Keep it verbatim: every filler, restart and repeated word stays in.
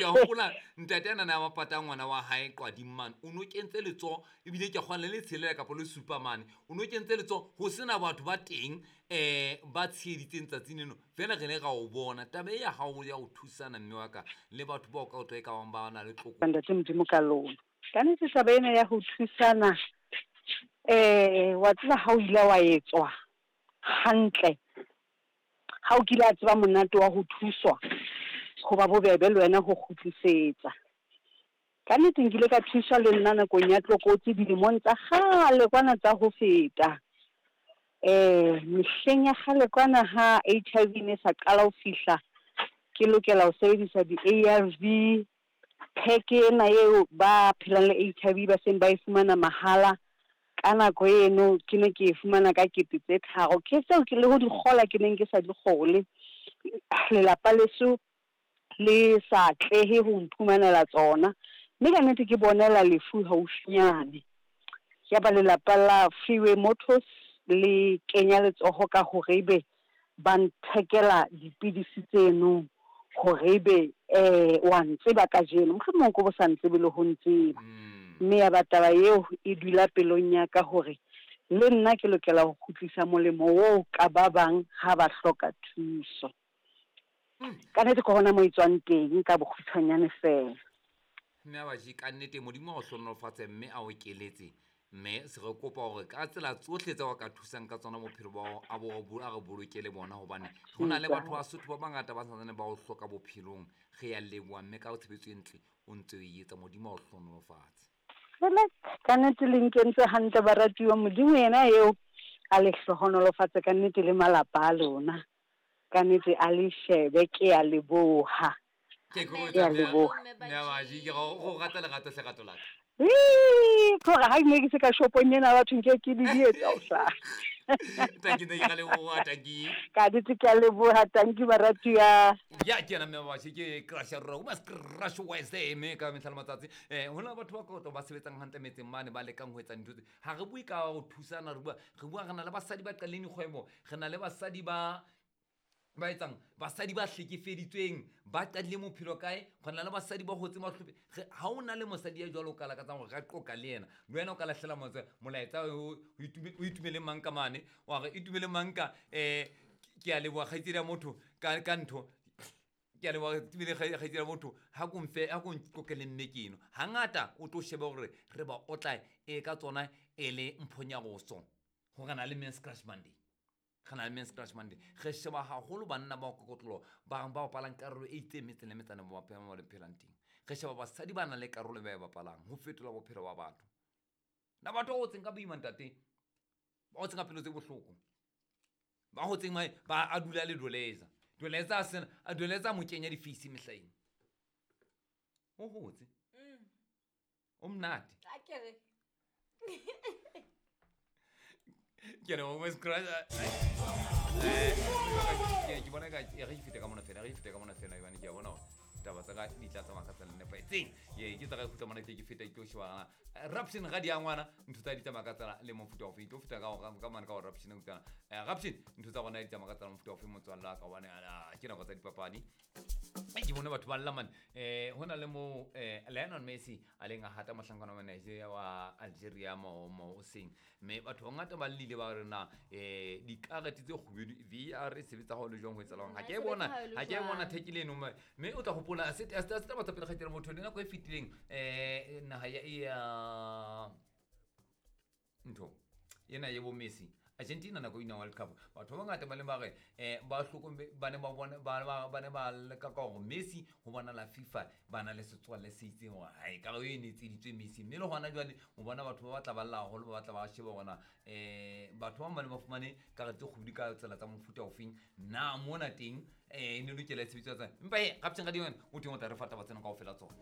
a hopola ntate ana na mapata ngwana wa hae qwading mane o no kentse letsoho ebile ke kgona le tshelela kapa le supa mane o no kentse letsoho ho sena batho ba teng eh ba tsheditseng tsatsing leno fela re ne ra o bona taba ya hao ya ho thusana mme wa ka le batho bao ka o tlo e ka bang ba na le tloko ntate Modimo ka lona ka nnete taba ena ya ho thusana eh wa tseba ha o ile wa etswa hantle ha o kile a tseba monate wa ho thuswa ho ba bobebe le wena ho kgutlisetsa. Ka nnete nkile ka thuswa le nna nakong ya tlokotsi dilemong tsa kgale kwana tsa ho feta. Eh mehleng ya kgale kwana ha H I V ne sa qala ho fihla ke lokela ho sebedisa di-A R V pack ena eo ba phelang le H I V ba seng ba e fumana mahala. Ka nako eno ke ne ke e fumana ka kete tse tharo ke tseo ke le ho di kgola ke neng ke sa di kgole. Lelapa leso le sa atlehe ho mphumanela tsona mme ka nnete ke bonela lefu haufinyane. Ya ba lelapa la Freeway Motors le kenya letsoho ka hore ebe ba nthekela dipidisi tseno hore ebe eh wa ntseba kajeno mohlomong ko bo sa ntsebe le ho ntseba. Mme ya ba taba eo e dula pelong ya ka hore le nna ke lokela ho kgutlisa molemo oo ka ba bang ha ba hloka thuso. Ka nnete ke hona moo e tswang teng ka bokgutshwanyane fela. Mme a baji ka nnete Modimo a o hlohonolofatse mme a o keletse mme se re kopa hore ka tsela tsohle tse wa ka thusang ka tsona bophelo ba hao, a bo a re bolokele bona hobane ho na le batho ba Sotho ba bangata ba santsane ba o hloka bophelong. Re ya leboha mme ka tshebetso e ntle o ntse o e etsa Modimo a o hlohonolofatse. Jwale ka nnete le nkentse hantle baratuwa, Modimo yena eo a le hlohonolofatse ka nnete le malapa a lona. Ka nnete a le shebe ke a leboha. Ke Ke a leboha. Mme a baji ke go rata lerato hle rato la ka. Ee, ke hore ha ke ne ke se ka shopong ena batho nke ke di dietsa o sa. Tanki ne ke a leboha, tanki. Ka nnete ke a leboha, tanki baratuwa. Ya ke yena mme wa baji ke crush ya rona, o mas crush Wednesday mme ka mehla le matsatsi. Eh ho na le batho ba kotlo ba sebetsang hantle metseng mane ba lekang ho etsa dintho tse. Ha re bue ka ho thusana, re bua re bua re na le basadi ba qaleng dikgwebo, re na le basadi ba ba etsang basadi ba hlekefeditsweng ba qadile bophelo kae, re na le basadi ba hotse mahlophe. Ha o na le mosadi ya jwalo o ka lakatsang hore ka qoqa le yena, le wena o ka lahlela motse molaetsa o itumele mang ka mane, wa re itumele mang ka eh ke a leboha kgaitsedi ya motho ka ka ntho ke a leboha itumele kgaitsedi ya motho ha ko mfe ha ko nqoqele mme ke eno. Hangata o tlo shebe hore re ba otla e ka tsona e le mphonyaroso hore na le Men's Crush Monday. Re na le Men's Crush Monday. Re sheba haholo banna ba kokotlolo ba ba bapalang karolo e itseng metseng le metsana ba ba le phelang teng. Re sheba basadi ba nang le karolo ba e bapalang ho fetola bophelo ba batho. Na batho ba hotseng ka boima ntate, ba hotseng ka pelo tse bohloko, ba hotseng ba a dula le Doleza. Doleza a sena, a Doleza mo kenya difeisi mehlaeng. O hotse. O monate. A ke re. Ke re o Men's Crush. Eh ke bona ka re fete ka mona fela, re fete ka mona fela ibane ke a bona hore taba tsa ka di tla tsamaya ka tsela e nepahetseng. Ye ke tsa ka khutla mona ke ke feta ke tlo sheba Raption ga di a ngwana ntho tsa di tsamaya ka tsela le mofuta ofe tlo feta ka ka mane ka hore Raption o tsana. Eh Raption ntho tsa rona di tsamaya ka tsela mofuta ofe motswalla wa ka hobane ke nako tsa dipapadi. Ke bone batho ba lla mane. Eh hona le mo eh Lionel Messi a leng a hata mohlankana wa Nigeria wa Algeria mo mo seng mme batho ba ngata ba llile ba re na eh dikarete tse kgubedu V R e sebetsa ha o le jwang ho etsahalang. Ha ke e bona ha ke e bona thekile eno mme o tla hopola se se se taba tsa pele kgaitsedi motho le nako e fetileng eh naha ya ya ntho ena ye bo Messi Argentina nako ina World Cup batho ba bangata ba le ba re eh ba hlokombe ba ne ba bona ba ba ne ba leka ka hore Messi ho bona la FIFA ba na le setswalle se itseng hore hai ka e ne tseditswe Messi mme le hona jwale o bona batho ba batla ba lla haholo ba batla ba sheba hona eh batho ba bang ba fumane karete kgwedi ka tsela tsa mofuta ofeng na mona teng eh ne lokela tshebetso tsa empa he Captain Radione o teng o tla re fa taba tsena kaofela tsona.